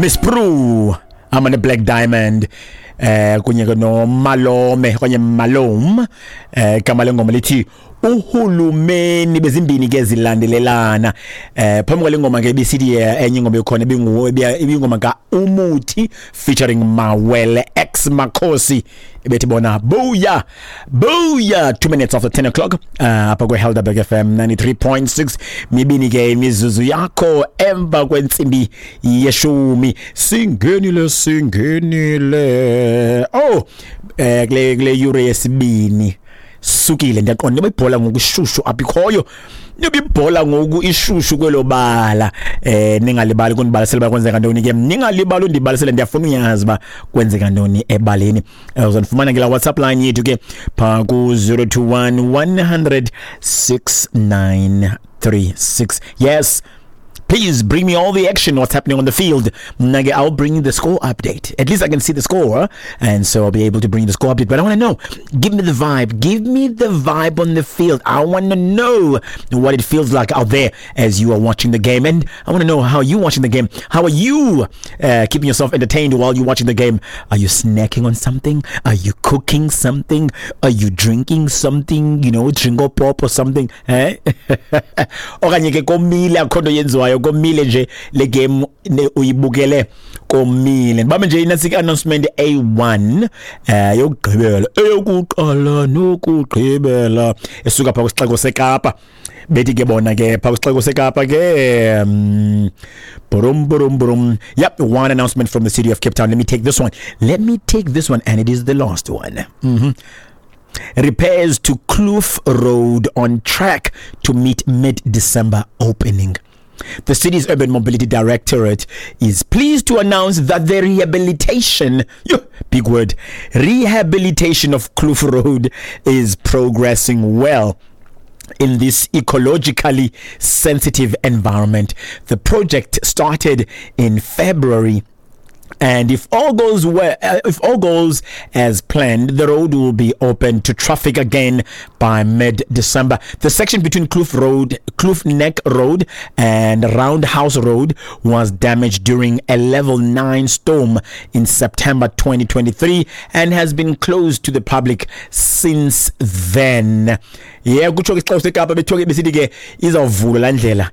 Miss Prue hamba ne-Black Diamond kunye ke noMalome okanye Malome, igama lengoma lithi Uhulumeni. Bezimbini ke zilandelelana. Phambi kwale ngoma ke ibisithi enye ingoma ekhona ibingoma ka Umuthi featuring Mawele X Makhosi, bethi bona Buya Buya. 2 minutes after 10 o'clock apha kwe-Helderberg FM 93.6, mibini ke imizuzu yakho emva kwentsimbi yeshumi. Singenile, singenile, oh, kule yure yesibini sukile. Ndiyaqonda noba ibhola ngoku ishushu apha ikhoyo, noba ibhola ngoku ishushu kwelo bala. Ningalibali kundibalisela uba kwenzeka ntoni ke, ningalibali undibalisele, ndiyafuna uyazi uba kwenzeka ntoni ebaleni. Uzandifumana ke la WhatsApp line yethu ke phaa ku-021 100 6936. Yes, please bring me all the action, what's happening on the field. Mna ke, I'll bring you the score update. At least I can see the score, and so I'll be able to bring you the score update. But I want to know, give me the vibe. Give me the vibe on the field. I want to know what it feels like out there as you are watching the game. And I want to know how you're watching the game. How are you keeping yourself entertained while you're watching the game? Are you snacking on something? Are you cooking something? Are you drinking something? Drink or pop or something? Eh? Okanye ke komile, akho nto yenziwayo, komile nje, le game uyibukele komile. Ndibambe nje inasika announcement A1, yokugqibela, eyokuqala nokugqibela, esuka pha kwisixeko seKapa. Bethi ke bona ke pha kwisixeko seKapa ke, brum brum brum. Yep, one announcement from the city of Cape Town. Let me take this one, let me take this one, and it is the last one. Repairs to Kloof Road on track to meet mid-December opening. The city's Urban Mobility Directorate is pleased to announce that the rehabilitation, yo, big word, rehabilitation of Kloof Road is progressing well in this ecologically sensitive environment. The project started in February, and if all goes well, if all goes as planned, the road will be open to traffic again by mid-December. The section between Kloof Road, Kloof Neck Road, and Roundhouse Road was damaged during a level 9 storm in September 2023 and has been closed to the public since then. Yeah, kutsho ke isixeko seKapa, bethiwa ke besithi ke izawuvulwa laa ndlela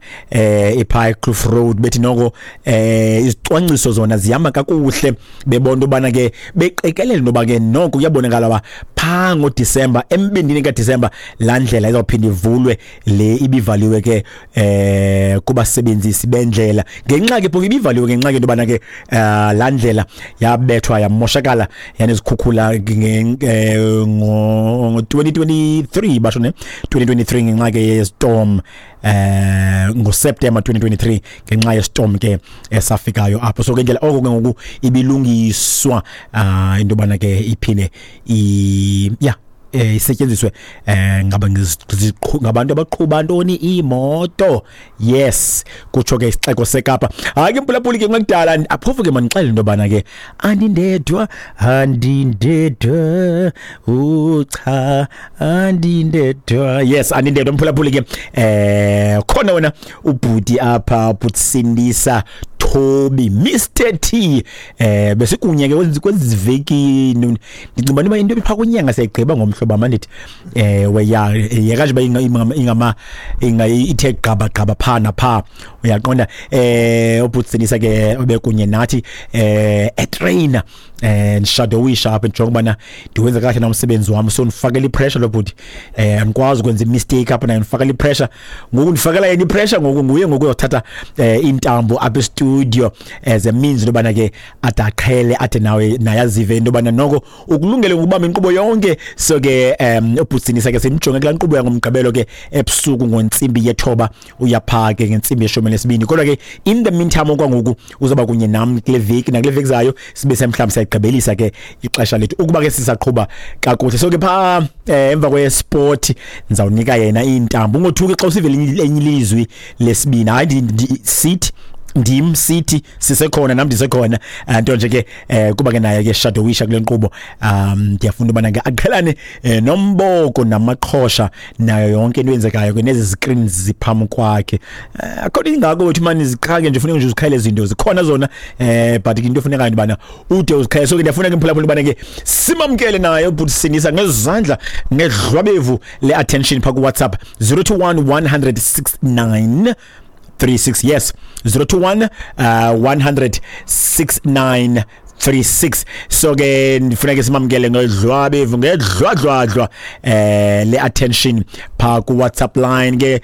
iphaa eKloof Road. Bethi noko izicwangciso zona zihamba kakuhle, bebona into yobana ke beqikelela into yoba ke noko kuyabonakala uba phaa ngoDisemba, embindini kaDisemba, laa ndlela izawuphinda ivulwe le ibivaliwe ke kubasebenzisi bendlela, ngenxa ke phofu ibivaliwe ngenxa ke into yobana ke laa ndlela yabethwa yamoshakala yanezikhukhula ngo-2023, basho ne 2023, ngenxa ke ye-storm ngoSeptember 2023, ngenxa ye-storm ke esafikayo apho. So ke indlela oko ke ngoku ibilungiswa into yobana ke iphinde i yeah isetyenziswe ngaba ngabantu abaqhuba ntoni, iimoto. Yes, kutsho ke isixeko seKapa. Hayi ke mpulaphuli ke, kungekudala aphofu ke mandixele into yobana ke andindedwa, andindedwa, ucha, andindedwa. Yes, andindedwa mphulaphuli ke. Khona wena ubhuti apha, ubhuti Sindisa Toby, Mr T. Besikunye ke kwezi veki, ndicinga uba into epha kwinyanga siyayigqiba ngomhlobo mandithi weya yeka nje uba ingama inga ithe gqaba gqaba pha napha, uyaqonda. Ubhuti Sindisa ke bekunye nathi etrainer ndishadowisha apha, ndijonga ubana ndiwenza kahle na umsebenzi wam. So ndifakela i-pressure lo bhuti, andikwazi ukwenza i-mistake apha, naye ndifakela i-pressure ngoku, ndifakela yena i-pressure ngoku. Nguye ngoku uyothatha intambo apha e-studio as a means into yobana ke ade aqhele, ade nawe naye azive into yobana noko ukulungele ngokubamba inkqubo yonke. So ke ubhuti Sindisa ke simjonge kulaa nkqubo yangoMgqibelo ke ebusuku ngontsimbi yethoba, uyaphaa ke ngentsimbi yeshumi nesibini. Kodwa ke in the meantime, okwangoku uzawuba kunye nam kule veki nakule veki zayo, sibe semhlawumbi siyagqibelisa ke ixesha lethu ukuba ke sisaqhuba kakuhle. So ke phaa emva kwe-sport ndizawunika yena iintambo. Ungothuki xa usive elinye ilizwi lesibini. Hayi, sithi Ndim sithi sisekhona, nam ndisekhona. Nto nje ke kuba ke naye ke shadowisha kule nkqubo, ndiyafuna ubana ke aqhelane nomboko namaqhosha nayo yonke into eyenzekayo ke nezi screens ziphambi kwakhe. Akho nto ingako wethu mani, ziqhake nje, funeka nje uzikhayele izinto zikhona zona, but into efunekayo into bana ude uzikhayele. So ke ndiyafuna ke, mphulaphula, ubana ke simamkele naye ubhuti Sindisa ngezandla, ngedlwabevu le attention pha ku WhatsApp 021 100 69 36. Yes, 021 100 69 36. So ke ndifuna ke simamkele ngedlwabevu, ngedlwadlwadlwa le attention pha ku WhatsApp line ke.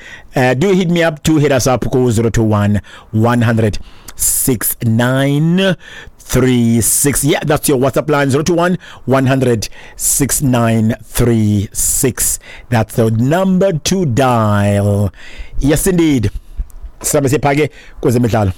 Do hit me up, do hit us up ku 021 100 69 36. Yeah, that's your WhatsApp line, 021 100 6936. That's the number to dial. Yes indeed, sihambe siphake kwezemidlalo.